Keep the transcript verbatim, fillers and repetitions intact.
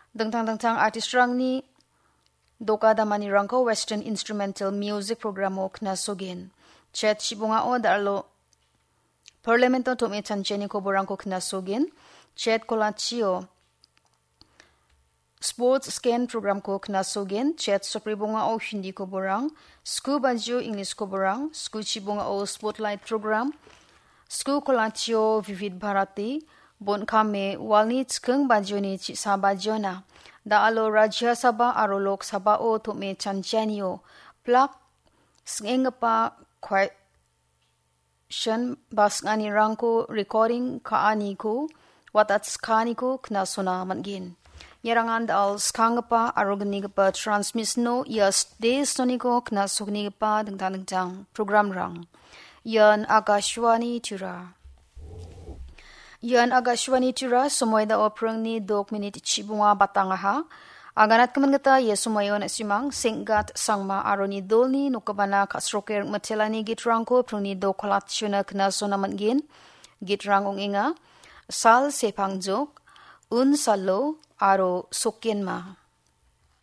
Dingtang dingtang artistrangni doka damanirangko Western Instrumental Music Programo knasogen. Chet chibongao dal·o Parlamento tom·e chanchiani koborangko knasogen. Chet kolachio Sports Scan Programko knasogen. Chet sopribongao Hindi koborang, sku bajio English koborang, sku chibongao Spotlight Program, sku kolachio Vivid Bharati, bon kame walni chiking bajioni chisa bajiona. Da·alo Rajya Sabha aro Lok Sabhao tom·e chanchianio plak sing·enggipa question ba sing·anirangko recording ka·aniko, watatskaaniko knasona man·gen. Iarangan da·al skanggipa aro gnigipa transmissiono ia stage soniko knasoknigipa dingtang dingtang programrang. Ian Akashvani Tura. Ian Akashvani Tura, somoi da·o pringni dok minit chibonga batangaha. Aganatgimin gita ia somoio na·simang Senggat Sangma aro ni dolni nokgipana ka·sroke ringmitelani gitrangko pringni dok kolachona knasona man·gen. Gitrang ong·enga, Sal Sepangjok, Un Salo aro Sokenma.